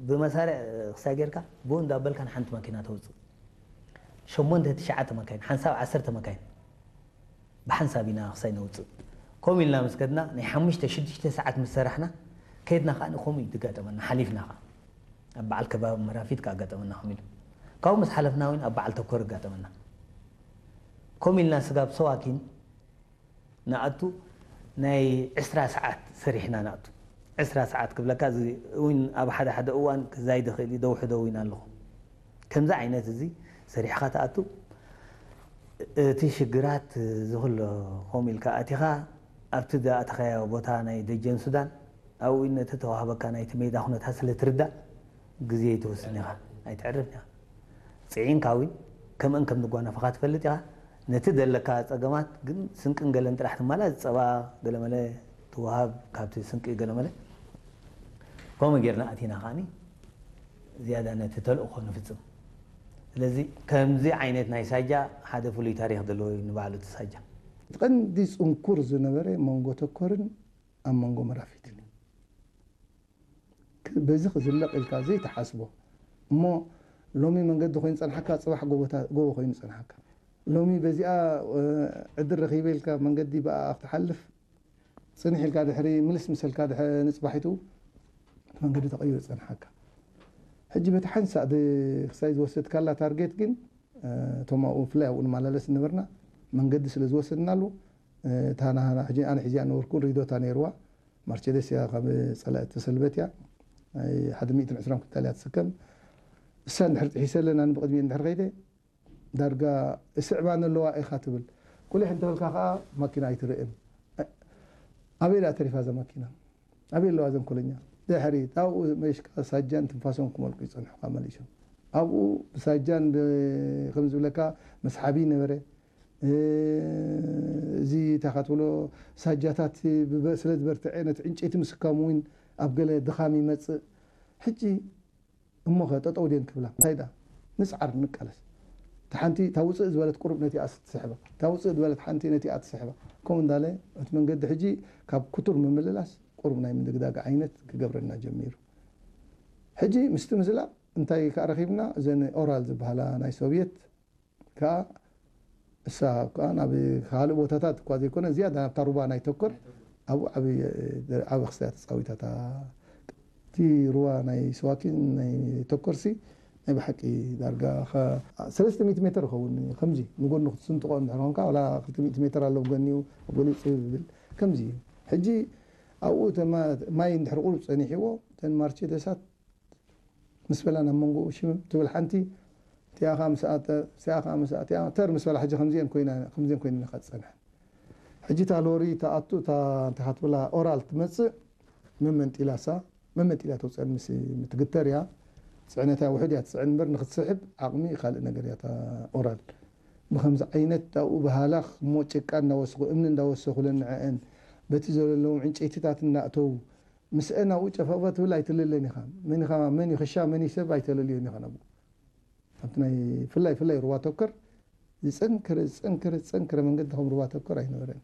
ብመሳርዕ ክሳይ ጌርካ ብኡ እንዳበልካ ንሓንቲ መኪና ተውፅእ። ሸሞንተ ትሽዓተ መካይን ሓንሳብ ዓሰርተ መካይን ብሓንሳብ ኢና ክሳይ ነውፅእ። ከምኡ ኢልና ምስ ከድና ናይ ሓሙሽተ ሽዱሽተ ሰዓት ምስ ሰራሕና ከይድና ከዓ ከምኡ እዩ ዝጋጠመና። ሓሊፍና ከዓ ኣብ በዓል ከባቢ መራፊት ከዓ ኣጋጠመና። ከምኡ ኢሉ ካብኡ ምስ ሓለፍና እውን ኣብ በዓል ተኮር ኣጋጠመና። ከምኡ ኢልና ስጋብ ሰዋኪን ንኣቱ ናይ ዕስራ ሰዓት ሰሪሕና ንኣቱ። ዕስራ ሰዓት ክብለካ እዚ እውን ኣብ ሓደ ሓደ እዋን ክዛይድ ይኽእል እዩ። ደውሑ ደው ኢና ኣለኹ። ከምዚ ዓይነት እዚ ሰሪሕኻ ትኣቱ። እቲ ሽግራት እዚ ኩሎ ከምኡ ኢልካ ኣቲኻ ኣብቲ ዝኣተኻዮ ቦታ ናይ ደጀን ሱዳን ኣብኡ ነቲ ተዋህበካ ናይቲ ሜዳ ኩነታት ስለ ትርዳእ ግዜ ኣይትወስን ኢኻ፣ ኣይተዕርፍን ኢኻ። ጽዒንካ እውን ከምአን ከም ንጓነፈኻ ትፈልጥ ኢኻ። ነቲ ዘለካ ጸገማት ግን ስንቅን ገለን ጥራሕ ትማላ፣ ጸባ ገለመለ ትወሃብ ካብቲ ስንቂ ገለመለ። ከምኡ ጌርና ኣቲና ከዓኒ ዝያዳ ነቲ ተልእኾ ንፍጽም። ስለዚ ከምዚ ዓይነት ናይ ሳጃ ሓደ ፍሉይ ታሪኽ ዘለዎ እዩ ንባዕሉ እቲ ሳጃ። እቲ ቀንዲ ጽንኩር ዝነበረ መንጎ ተኮርን ኣብ መንጎ መራፊትን እዩ። ክ- በዚ ክዝለቕ ኢልካ ዘይትሓስቦ እሞ ሎሚ መንገዲ ኮይኑ ጸንሓካ፣ ጽባሕ ጎቦታ- ጎቦ ኮይኑ ጸንሓካ። ሎሚ በዚኣ እ፣ ዕድል ረኺበ ኢልካ መንገዲ ብኣ ክትሓልፍ ጽንሕ ኢልካ ድሕሪ ምልስ ምሰልካ ድሕሪ ንጽባሒቱ እቲ መንገዲ ተቐይሩ ጸንሓካ። ሕጂ በቲ ሓንሳእ ድ- ክሳይ ዝወሰድካላ ታርጌት ግን እ፣ እቶም ኣብኡ ብፍላይ ኣብኡ ንመላለስ ዝነበርና መንገዲ ስለ ዝወሰድናሉ እ፣ እታ ናህና ሕጂ ኣነ ሒዚኣ ነበርኩን ሪዶታ ነይርዋ። ማርቸደስ እያ ካብ ጸላኢ ተሰልበት እያ። ናይ ሓደ ሚእትን ዕስራን ኩንታል እያ ትስከም። እሳ እንድሕር ጥሒሰ ኣለና ንብቕድሚኡ እንድሕር ከይደ ዳርጋ እስዕባኒ ኣለዋ ኢኻ ትብል። ቁሊሕ እንተበልካ ከኣ ማኪና ኣይትርእን። ኣበይ ደኣ ተሪፋ እዛ ማኪና? ኣበይ ኣለዋ እዘን ኮለኛ? ድሕሪት ኣብኡ መሽቃ ሳጃን ትንፋሶም ክመልቁ ይጸንሑኻ መሊሶም። ኣብኡ ብሳጃን ብ- ከም ዝብለካ መስሓቢ ነበረ። እ፣ እዚ እንታይ ትብሎ ሳጃታት ብበ- ስለ ዝበርትዐ ነቲ ዕንጨይቲ ምስካም እውን ኣብ ገለ ድኻም ይመጽእ። ሕጂ እሞኸ ጠጠው ድየን ክብላ? እንታይ ደኣ? ንጽዓር፣ ንቃለስ። እታ ሓንቲ እታ ውጽእ ዝበለት ቁሩብ ነቲኣ ትስሕባ። እታ ውጽእ ዝበለት ሓንቲ ነቲኣ ትስሕባ። ከምኡ እንዳለ እቲ መንገዲ ሕጂ ካብ ክቱር ምምልላስ ቁሩብ ናይ ምድግዳግ ዓይነት ክገብረና ጀሚሩ። ሕጂ ምስቲ ምዝላቕ እንታይ ከኣ ረኺብና? እዘን ኦራል ዝበሃላ ናይ ሶቭየት ከኣ እሳ ከኣ ናብ ካልእ ቦታታት እኳ ዘይኮነ ዝያዳ ናብታ ሩባ ናይ ተኮር ኣብኡ ዓብዪ ዓብዪ ክስታ ተጻዊታ እታ እቲ ሩባ ናይ ስዋኪን ናይ ተኮርሲ ናይ ብሓቂ ዳርጋ ኸ- ሰለስተ ሚእቲ ሜትር ይኸውን ከምዚ ንጎኑ ክትስንጥቆ እንድሕር ኮንካ ዋላ ክልተ ሚእቲ ሜትር ኣሎ ብጎኒኡ ኣብ ገሊኡ ጽብብ ይብል ከምዚ እዩ። ሕጂ ኣብኡ እተ ማ- ማይ እንድሕር ቁሩብ ጸኒሕዎ እተን ማርቸደሳት ምስ በላ ናብ መንጎኡ ሽምም ትብል ሓንቲ እቲኣ ኸኣ ምስ ኣተ- እቲኣ ኸኣ ምስ ኣቲኣ ተር ምስ በላ ሕጂ ከምዚአን ኮይና ከምዚአን ኮይነን ኢኻ ትጸንሐን። ሕጂ እታ ሎሪ እታ ኣቱ እታ እንታይ ትብላ ኦራል ትመጽእ መመንጢላሳ መመንጢላ ተውፀን ምስ ምትግተር እያ። ፅዕነታ ውሕድ እያ ትፅዕን እምበር ንክትስሕብ ዓቕሚ ካልእ ነገር እያ እታ ኦራል። ብከምዚ ዓይነት ኣብኡ ብሃላኽ እሞ ጭቃ እንዳወሰኹ እምኒ እንዳወሰኹለን ንዐአን በቲ ዘለለዎም ዕንጨይትታት እናእተዉ ምስአን ኣብኡ ጨፈቕፈ ትብል ኣይትልለን ኢኻ። መን ኢኻ መን እዩ ክሻ መን እዩ ሰብ ኣይተለልዮን ኢኻ ናብኡ። ኣብቲ ናይ ፍላይ ፍላይ ሩባ ተኮር ዝፀንከረ ዝፀንከረ ዝፀንከረ መንገዲ ከም ሩባ ተኮር ኣይነበረን።